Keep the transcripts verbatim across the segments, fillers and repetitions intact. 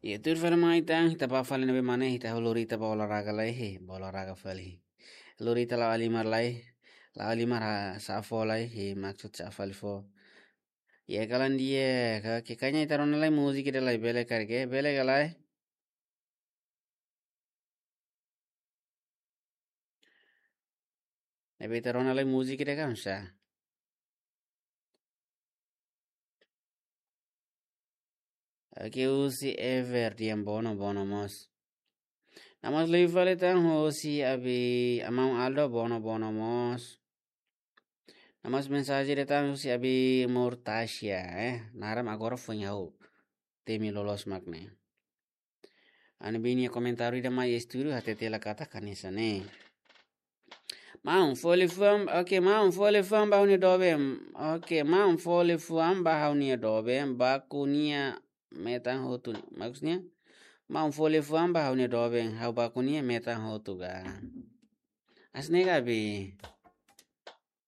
Ya, tuir fali mai tan, ita ba fali ne'ebé mak ne'e, ita lori ita ba olahraga lai, he, ba olahraga fali. Lori ita la'o halimar lai, la'o halimar ha, sa'e fó lai, he, maksud sa'e fali fó. Ya, kalan di'ak, ka, ke kanya ita rona lai múzika ida lai, bele karik, bele ka lai. Ne'ebé ita rona lai múzika ida ka, oinsá? Oke, husi Ever, di'ak, bono, bono mós. Namas liu fali tan husi Abi, Amau Aldo, bono, bono mós. Namas mensajen ida tan husi Abi Murtasia, eh. Naran agora foin ha'u temi loloos mak ne'e. Ha'u-nia biin nia komentáriu ida mai estúdiu hatete hela katak hanesan ne'e. Maun, fó liafuan, oke, maun, fó liafuan ba ha'u-nia doben. Oke, maun, fó liafuan ba ha'u-nia doben, baku nia metan hotu. Maksudnya, maun, fó liafuan ba ha'u-nia doben, ha'u baku nia metan hotu ka. Hanesan ne'e ka, Abi?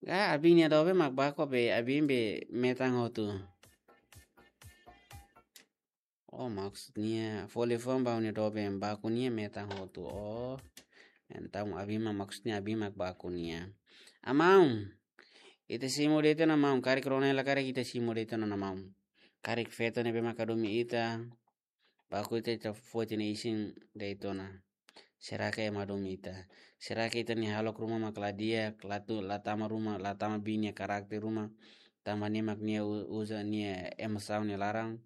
Ka, Abi nia doben mak baku be, Abi be metan hotu. Oh, maksudnya, fó liafuan ba ha'u-nia doben, baku nia metan hotu. Oh, entaun Abi mak, maksudnya Abi mak baku nia. Amau, ita simu de'it ona maun, karik rona hela karik ita simu de'it ona maun. Karik feto ne'ebé maka domin ita, baku ita, ita foti nia isin de'it ona. Será ke ema domin ita? Será ke ita-nia hahalok ruma mak la di'ak, la tu, la tama ruma, la tama biin nia karakter ruma, tanba nia mak nia u-, uza nia emosaun nia laran,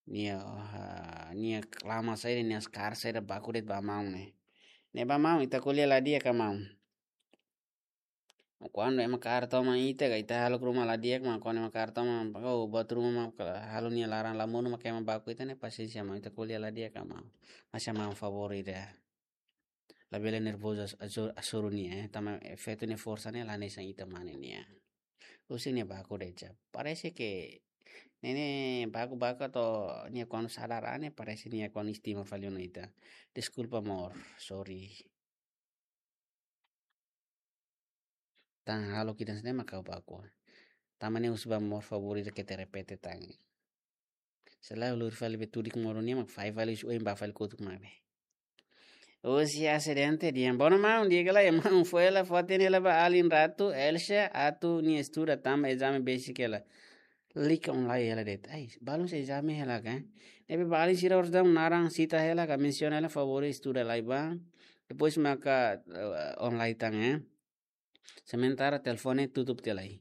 nia, ah, nia reklama saida, nia askar saida, baku de'it ba maun ne'e. Ne'e ba maun, ita ko'alia la di'ak ka maun? Kuandu ema kaer toma ita ka, ita hahalok ruma la di'ak mak, kuandu ema kaer toma, oh, buat ruma mak, halo nia laran la monu mak ema baku ita ne'e, pasiénsia maun, ita ko'alia la di'ak ka maun? Masa maun favór ida. Labele nervozu as-, asu-, hasoru nia, eh. Tanba, eh, feto nia forsa ne'e la hanesan ita mane nia. Husi nia baku de'it. Parese ke ne'e ne'e baku-baku atu nia kuandu sadar an ne'e, parese nia kuandu estima fali ona ita. Deskulpa, amor. Sorry. Tan hahalok ida hanesan ne'e mak ha'u baku. Tanba ne'e husu ba amor favór ida keta repete tan. Selae lori fali be tudik modo nia mak fai fali husi oin ba fali kotuk maibé. Husi asidente di'ak. Bono maun, di'ak ka lae maun, fó hela, fó hatene hela ba alin ratu, Elsa, atu nia estuda tanba ezame besik hela. Lalika online hela de'it. Ai, balun sei ezame hela ka? Ne'ebé ba alin sira orsida naran sita hela ka, mensiona hela favór estuda lai ba. Depois maka, eh, online tan, eh. Sementara telefone tutup tiha lai.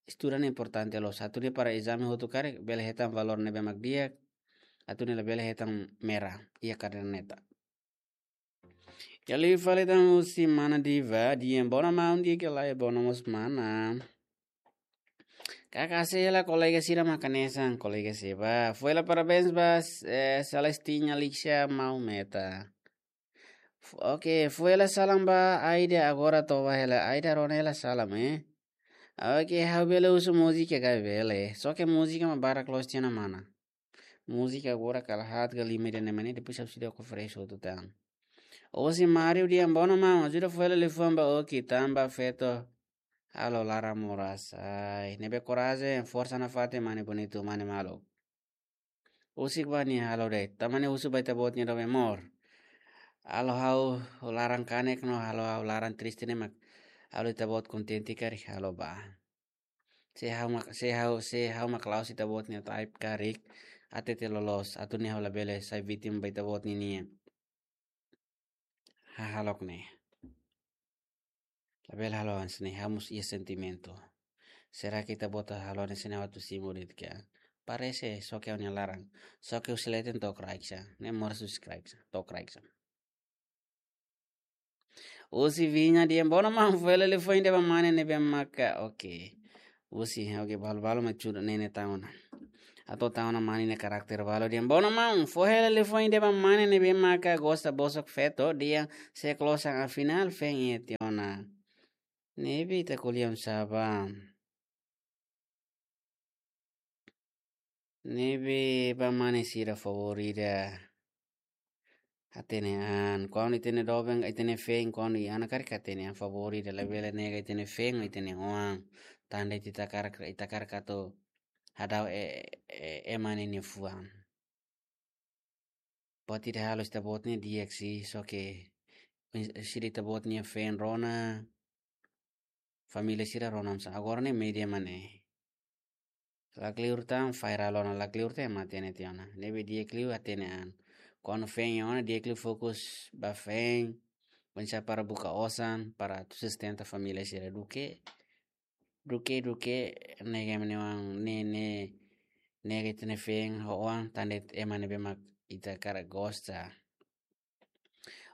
Estuda ne'e importante loos. Atu nia para ezame hotu karik, bele hetan valór ne'ebé mak di'ak. Atu nia labele hetan merah iha kaderneta. Ya, liu fali tan husi mana Diva, di'ak, bono maun, di'ak ka lae, bono mós mana. Kaka sei hela kolega sira mak hanesan, kolega sira ba. Fó hela parabéns ba, eh, Celestina Lixia Maumeta. F-, oke, fó hela salam ba Aida, agora toba hela. Aida, rona hela salam, eh. Oke, ha'u bele husu múzika ka, bele? Só ke múzika mak barak loos tiha ona mana. Múzika agora kala haat ka lima ida ne'e mak ne'e, depois ha'u sei oferese hotu tan. Husi Mario, di'ak, bono maun, ajuda fó hela liafuan ba Oki, tanba feto halo laran moras. Ai, ne'ebé korajen, forsa nafatin, mane bonitu, mane maluk. Husik ba nia halo de'it. Tanba ne'e husu ba ita-boot nia doben, amor. Halo ha'u laran kanek no halo ha'u laran triste ne'e mak halo ita-boot kontente karik, halo ba. Se ha'u mak, se ha'u, se ha'u mak la'ós ita-boot nia type karik, hatete loloos, atu nia ha'u labele sai vítima ba ita-boot ninia hahalok ne'e. Labele halo hanesan ne'e, ha'u mós iha sentimentu. Será ke ita-boot halo hanesan ne'e atu simu de'it ka? Parese, só ke ha'u-nia laran. Só ke husi leten to'o kraik sa. Ne'e moras husi kraik sa, to'o kraik sa. Husi Viña, di'ak, bono maun, fó hela liafuan ida ba mane ne'ebé maka. Oke. Husi, oke, balu-balu mak tuda ne'e ne'e tan ona. Atu tan ona mane nia karakter balu, di'ak, bono maun, fó hela liafuan ida ba mane ne'ebé maka gosta bosok feto, di'ak, sei klosan, afinál feen iha tiha ona. Ne'ebé ita ko'alia oinsá ba? Ne'ebé ba mane sira favór ida. Hatene an, kuandu ita-nia doben, ita-nia feen, kuandu iha ona karik hatene an favór ida, labele nega ita-nia feen, ita-nia oan. Tanba ita hakarak, ita hakarak atu hadau e, e, ema ninia fuan. Buat ida halo ita-boot ne'e di'ak sih, só ke sira ita-boot nia fan rona, família sira rona mós. Agora ne'e média mak ne'e. La kleur tan, viral ona, la kleur tan, mate ne'e tiha ona. Ne'ebé di'ak liu hatene an. Kuandu fan ona, di'ak liu fokus ba fan. Oinsá para buka osan, para atu sustenta família sira duké. Duké, duké, nega ema nia oan, ne'e, ne'e, nega ita-nia fan ho oan, tan de'it ema ne'ebé mak ita hakarak gosta.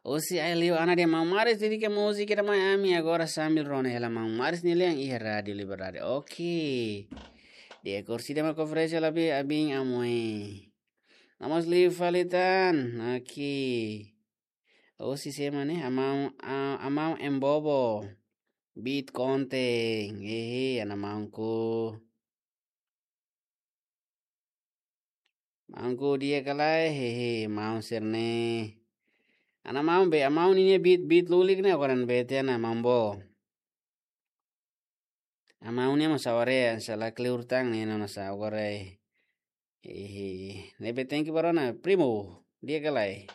Husi ai liu Ana de Maun Maris, dedika múzika ida mai ami agora sambil rona hela Maun Maris nia lian iha Rádiu Liberdade. Oke. Di'ak, kursi ida mak oferese la be abin amoi. Nomós liu fali tan. Oke. Husi sé mak ne'e, Amau, a-, Amau Embobo. Beat Konten. Hehe, Ana Maunku. Maunku di'ak ka lae, hehe, maun sira-ne'e. Ana maun be, Ana maun ninia beat, beat lulik ne'e, agora ne'e bete Ana maun bo. Ana maun ne'e mós aware, se la kleur tan ne'e, nona sa agora, eh. Hehe, ne'ebé thank you ba rona, primo, di'ak ka lae.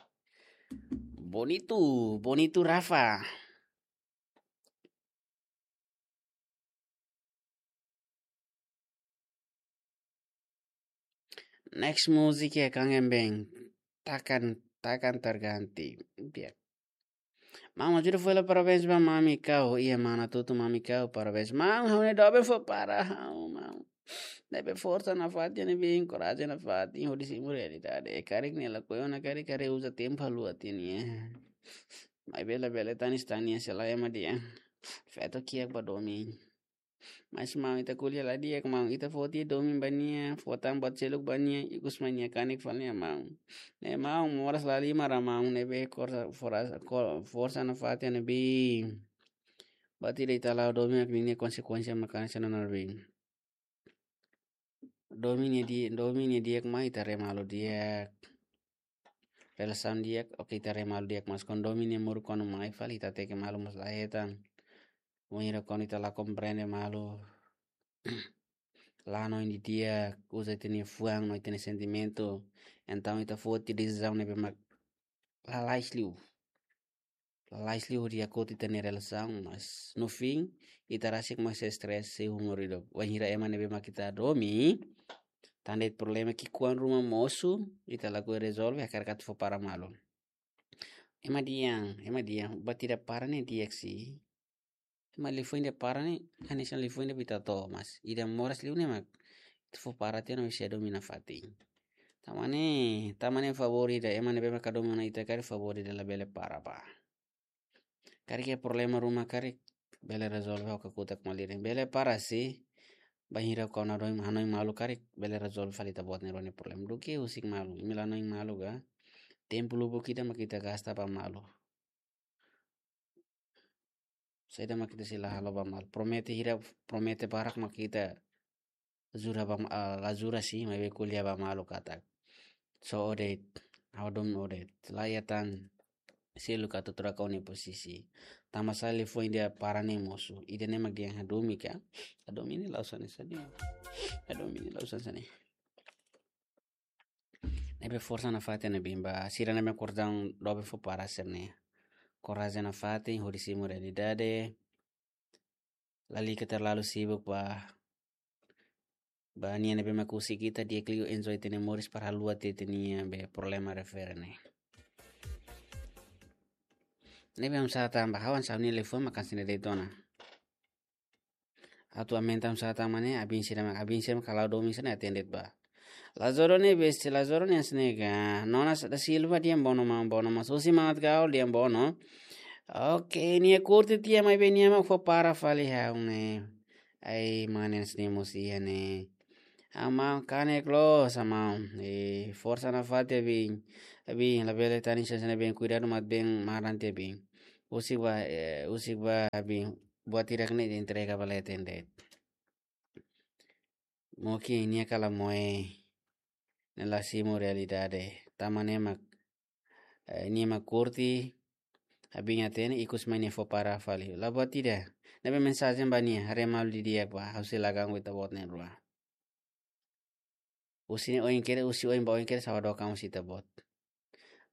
Bonitu, Bonitu Rafa. Next music ya Kangen Band. Takkan, takkan terganti. Di'ak. Maun, ajuda fó hela parabéns ba mami Kau. Iha mana tutu mami Kau. Parabéns. Maun, ha'u-nia doben fó para ha'u, maun. Ne'ebé forsa nafatin, ne'ebé korajen nafatin, hodi simu realidade. Karik nia lakohi ona karik, karik uza tempu haluha tiha nia. Maibé labele tanis tan nia, selae ema di'ak. Feto kiak ba domin. Mas maun, ita ko'alia la di'ak maun, ita fó tiha domin ba nia, fó tan buat seluk ba nia, ikus mai nia kanek fali nia maun. Ne'e maun, moras la lima ra maun, ne'ebé forsa, forsa, ko-, forsa nafatin ne'ebé. Buat ida ita la'o domin mak ninia konsekuénsia mak hanesan ne'e ne'ebé. Domin nia di-, domin nia di'ak mai ita haree malu di'ak. Relasaun di'ak, oke, ita haree malu di'ak, mas kuandu domin nia moruk kuandu mai fali ita hateke malu mós la hetan. Wainhira kuandu ita la komprende malu. La hanoin didi'ak, uza ita-nia fuan no ita-nia sentimentu. Entaun ita foti desizaun ne'ebé mak lalais liu. Lalais liu hodi hakotu ita-nia relasaun, mas no fim, ita rasik mós estrés sei umur hidup. Wainhira ema ne'ebé mak ita hadomi, tan de'it problema ki'ikoan ruma mosu, ita lakohi rezolve, hakarak atu fó para malu. Ema dehan, ema dehan, buat ida para ne'e di'ak sih. Ema liafuan ida para ne'e, hanesan liafuan ida ba ita to'o, mas ida moras liu ne'e mak ita fó para tiha ona, ita sei hadomi nafatin. Tanba ne'e, tanba ne'e favór ida, ema ne'ebé mak hadomi ona ita karik favór ida labele para bá. Karik iha problema ruma karik bele rezolve ho kakutak malirin. Bele para sih, bainhira kuandu hanoin, hanoin malu karik bele rezolve fali ita-boot nia rua nia problema. Duké husik malu, imi la hanoin malu ka. Tempu lubuk ida mak ita gasta ba malu. Saida mak ita sei la halo ba malu. Promete hira, promete barak mak ita jura ba ma-, ah, la jura sih, maibé ko'alia ba malu katak. So o de'it, ha'u hadomi o de'it. La iha tan seluk atu troka o-nia posisi. Tanba sá liafuan ida para ne'e mosu. Ida-ne'e mak dehan hadomi ka. Hadomi ne'e la'ós hanesan ne'e. Hadomi ne'e la'ós hanesan ne'e. Ne'ebé forsa nafatin ne'ebé ba sira ne'ebé korajen doben fó para sira-ne'e. Korajen nafatin hodi simu realidade. Lalika terlalu sibuk ba, ba nia ne'ebé mak husik ita, di'ak liu enjoy ita-nia moris para haluha tiha ita-nia be problema refere ne'e. Ne'ebé hamsa tan ba ha'u hanesan ha'u-nia liafuan mak hanesan ne'e de'it ona. Atu aumenta hamsa tan mak ne'e, abin sira mak, abin sira mak halo domin sira-ne'e hatene de'it ba. Lazaro ne'e besti, Lazaro ne'e hanesan ne'e ka. Nona sa da Silva dehan bonu maun, bonu maun. Susi Mangat Gaul dehan bonu. Oke, nia kurti tiha maibé nia mak fó para fali ha'u ne'e. Ai, mane hanesan ne'e mós iha ne'e. Amau kanek loos, amau. Eh, forsa nafatin abin. Abin, labele tanis hanesan ne'e abin, kuidadu mak abin maran tiha abin. Husik bá, eh, husik bá abin. Buat hirak ne'e entrega ba leten de'it. Mungkin nia kala moe ne'e la simu realidade. Tanba ne'e mak, eh, nia mak kurti, abin hatene, ikus mai nia fó para fali. La buat ida. Ne'ebé mensajen ba nia, haree malu didi'ak bá, ha'u sei la ganggu ita-boot na'in-rua. Husi oin kedas, husi oin ba oin kedas, ha'u hadook an husi ita-boot.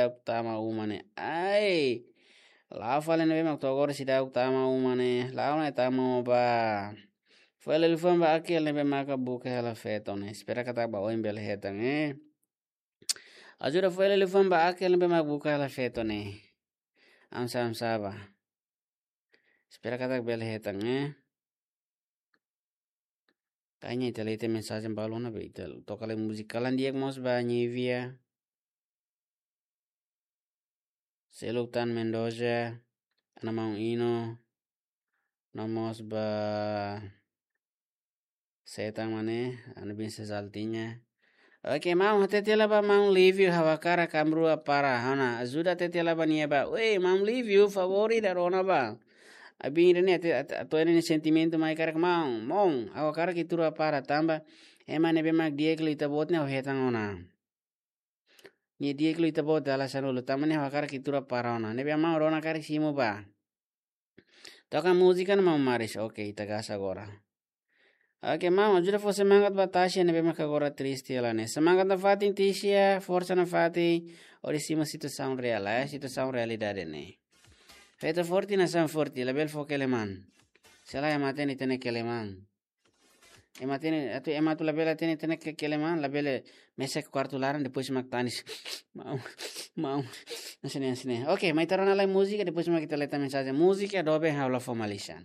seidauk tama uma ne'e. Ai. La'o fali ne'ebé mak to'o agora seidauk tama uma ne'e. La'o ne'e tama uma ba. Fo'er liafuan ba Akel ne'ebé maka buka hela feto ne'e. Espera katak ba oin bele hetan, eh. Ajuda fo'er liafuan ba Akel ne'ebé mak buka hela feto ne'e. Amsa, amsa ba. Espera katak bele hetan, eh. Kayaknya ita lee ita mensajen balu ona be ita toka lai múzika kalan di'ak mós ba Nivia. Seluk tan Mendoza, ana maun Ino, no mós ba Setang mane, ana bin Sesaltinya. Oke, maun, hatete la ba maun Livio ha'u hakarak ami rua para. Ha'u hanoin, ajuda hatete la ba nia ba. Wei, maun Livio, favór ida rona ba. Abin ida ne'e, atu, atu, atu ida ne'e sentimentu mai karik maun. Maun, ha'u hakarak ita rua para tanba. Ema ne'ebé mak di'ak liu ita-boot ne'e ha'u hetan ona. Nia di'ak liu ita-boot dala sanulu. Tanba ne'e ha'u hakarak ita rua para ona. Ne'ebé maun rona karik simu ba. Toka múzika no maun Maris. Oke, ita gas agora. Oke, maun, ajuda fó semangat ba Tasha ne'ebé mak agora triste hela ne'e. Semangat nafatin Tisha, forsa nafatin, hodi simu situasaun reál, eh, situasaun realidade ne'e. Feto forte, nasaun forte, labele fó keleman. Se lae ema hatene ita-nia keleman. Ema hatene, atu ema atu labele hatene ita-nia ke-, keleman, labele mesak kuartu laran, depois mak tanis. Maun, maun. Hanesan ne'e, hanesan ne'e. Oke, mai ita rona lai múzika, depois mak ita lee tan mensajen. Múzika, doben ha'u la fó malisan.